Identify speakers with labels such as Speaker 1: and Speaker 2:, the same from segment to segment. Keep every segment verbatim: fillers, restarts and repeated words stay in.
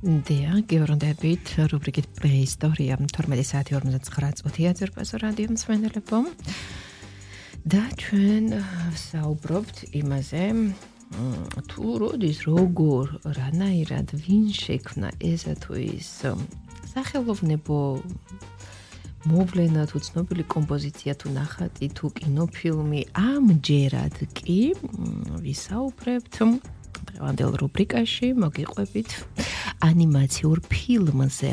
Speaker 1: დია, გევრონდებით რუბრიკით პრეისტორია თორმეტი საათი ორმოცდათსამი წუთია ძვირფასო რადიო მსმენელებო. და ჩვენ საუბრობთ იმაზე, თუ როდის როგორ რანაირად ვინ შექმნა ესა თუ ის სახელოვნებო მოვლენა თუ ცნობილი კომპოზიცია თუ ნახატი თუ კინოფილმი ამჯერად კი ვისაუბრებთ დღევანდელ რუბრიკაში მოგიყვებით ანიმაციურ ფილმზე,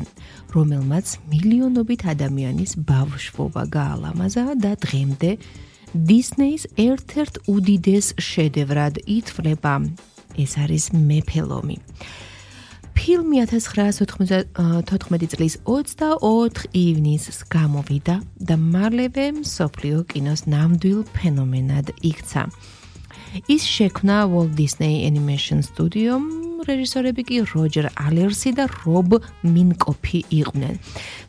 Speaker 1: რომელმაც მილიონობით ადამიანის ბავშვობა გაალამაზა და დღემდე დისნეის ერთ-ერთ უდიდეს შედევრად ითვლება. ეს არის მეფელომი. ფილმი ათას ცხრაასი ოცდათხუთმეტი წლის ოცდაოთხ ივნისს გამოვიდა და მალევე მსოფლიო კინოს ნამდვილ ფენომენად იქცა. ის შექმნა Walt Disney Animation Studio, რეჟისორები კი როჯერ ალერსი და რობ მინკოფი იყვნენ.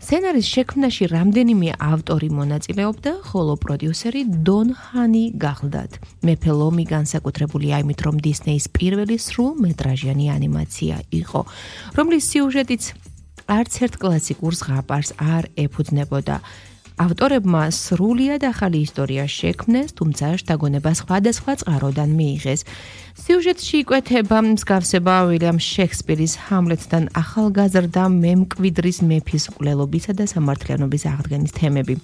Speaker 1: სცენარის შექმნაში რამდენიმე ავტორი მონაწილეობდა, ხოლო პროდიუსერი დონ ჰანი გახლდათ. მეფელომი განსაკუთრებულია იმით, რომ დისნეის პირველი სრულმეტრაჟიანი ანიმაცია იყო, რომლის სიუჟეტიც არც ერთ კლასიკურ ზღაპარს არ ეფუძნებოდა. ავტორებმა სრულიად ახალი ისტორია შექმნეს, თუმცა შთაგონება სხვადასხვა წყაროდან მიიღეს. სიუჟეტში იკვეთება მსგავსება უილიამ შექსპირის ჰამლეტთან ახალგაზრდა მემკვიდრის მეფის მკვლელობისა და სამართლიანობის აღდგენის თემები.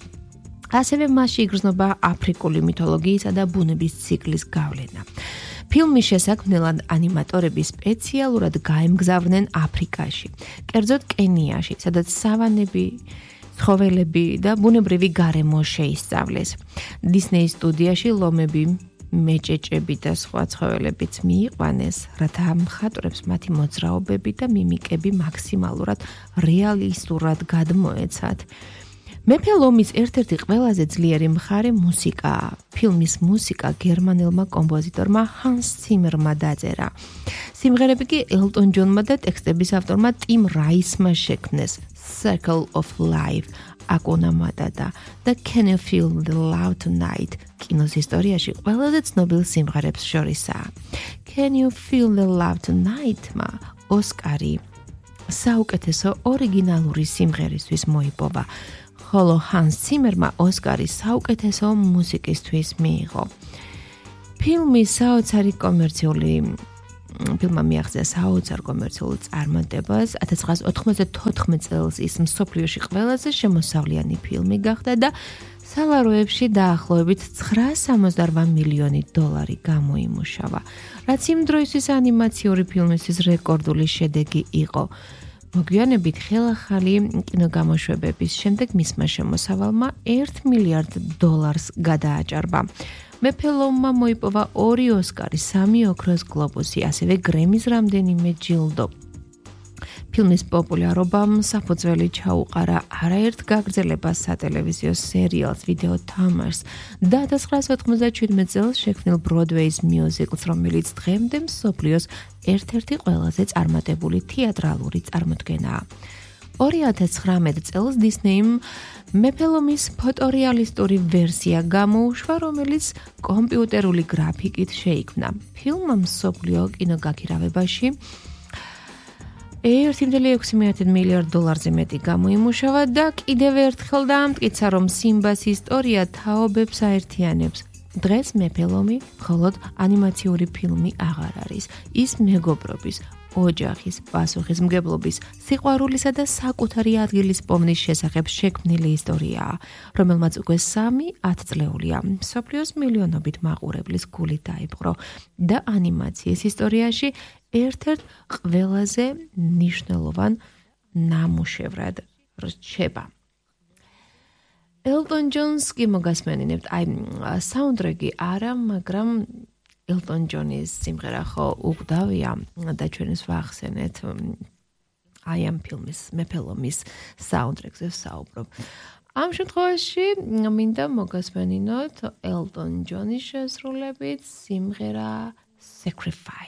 Speaker 1: ასევე მასში იგრძნობა აფრიკული მითოლოგიისა და ბუნების ციკლის გავლენა. ფილმის შესაქმნელად ანიმატორები სპეციალურად გაემგზავრნენ აფრიკაში, კერძოდ კენიაში, სადაც სავანები ცხოველები და ბუნებრივი გარემო შეისწავლეს. დისნეის სტუდიაში ლომები, მეჭეჭები და სხვა ცხოველებიც მიიყვანეს, რათა მხატვრებს მათი მოძრაობები და მიმიკები მაქსიმალურად რეალისტურად გადმოეცათ. მეფელომის ერთ-ერთი ყველაზე ძლიერი მხარე მუსიკაა. ფილმის მუსიკა გერმანელმა კომპოზიტორმა ჰანს ციმერმა დაწერა. სიმღერები კი ელტონ ჯონმა და ტექსტების ავტორმა ტიმ რაისმა შექმნეს. Circle of Life, Hakuna Matata და Can You Feel the Love Tonight კინოს ისტორიაში ყველაზე ცნობილ სიმღერებს შორისაა. Can You Feel the Love Tonight-მა ოსკარი საუკეთესო ორიგინალური სიმღერისთვის მოიპოვა, ხოლო ჰანს ციმერმა ოსკარი საუკეთესო მუსიკისთვის მიიღო. ფილმის საოცარი კომერციული ფილმმა მიაღწია საოცარ კომერციულ წარმატებას. ათას ცხრაასი ოთხმოცდათოთხმეტ წელს ის მსოფლიოში ყველაზე შემოსავლიანი ფილმი გახდა და სალაროებში დაახლოებით ცხრაასი სამოცდარვა მილიონი დოლარი გამოიმუშავა, რაც იმ დროისთვის ანიმაციური ფილმისთვის რეკორდული შედეგი იყო. მოგვიანებით ხელახალი კინოგამოშვებების შემდეგ მისმა შემოსავალმა ერთ მილიარდ დოლარს გადააჭარბა. მეფელომმა მოიპოვა ორი ოსკარი, სამი ოქროს გლობუსი, ასევე გრემის რამდენიმე ჯილდო. ფილმის პოპულარობამ საფუძველი ჩაუყარა არაერთ გაგრძელებას სატელევიზიო სერიალს ვიდეო თამაშს და ათას ცხრაასი ოთხმოცდაჩვიდმეტ წელს შექმნილ ბროდვეის მიუზიკლს, რომელიც დღემდე მსოფლიოს ერთ-ერთი ყველაზე წარმატებული თეატრალური წარმოდგენაა. ორი ათას ცხრამეტ წელს დისნეიმ მეფელომის ფოტორეალისტური ვერსია გამოუშვა, რომელიც კომპიუტერული გრაფიკით შეიქმნა. ფილმმა მსოფლიო კინოგაქირავებაში ერთი კoma ექვსი მილიარდ დოლარზე მეტი გამოიმუშავა და კიდევ ერთხელ დაამტკიცა, რომ სიმბას ისტორია თაობებს აერთიანებს. დღეს მეფელომი მხოლოდ ანიმაციური ფილმი აღარ არის. ის მეგობრობის, ოჯახის, პასუხისმგებლობის, სიყვარულისა და საკუთარი ადგილის პოვნის შესახებ შექმნილი ისტორიაა, რომელმაც უკვე სამი ათწლეულია მსოფლიოს მილიონობით მაყურებლის გულით დაიპყრო და ანიმაციის ისტორიაში ერთ-ერთ ყველაზე მნიშვნელოვან ნამუშევრად რჩება. ელტონ ჯონს კი მოგასმენინებთ, აი საუნდტრეკი არა, მაგრამ ელტონ ჯონის სიმღერა ხო უგდავია და ჩვენს ვახსენეთ აი ამ ფილმის მეფელომის საუნდტრეკზე ვსაუბრობ. ამ შემთხვევაში მინდა მოგასმენინოთ ელტონ ჯონის შესრულებით სიმღერა Sacrifice.